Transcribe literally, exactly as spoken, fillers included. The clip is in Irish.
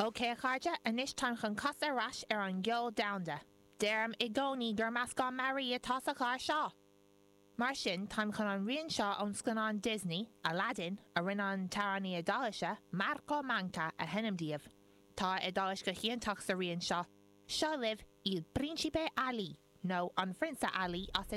Ok a chairde anois táim chun casadh ar ais ar an gceol domhanda. Deirim i gcónaí gur meascán mearaí atá sa chlár seo. Mar sin táim chun an rian seo ón scannán Disney, Aladdin, a rinne an t-amhránaí Iodáilise, Marco Manca a sheinm daoibh. Tá Iodáilis go hiontach sa rian seo. Seo libh Il Principe Ali, nó an Phrionsa Ali as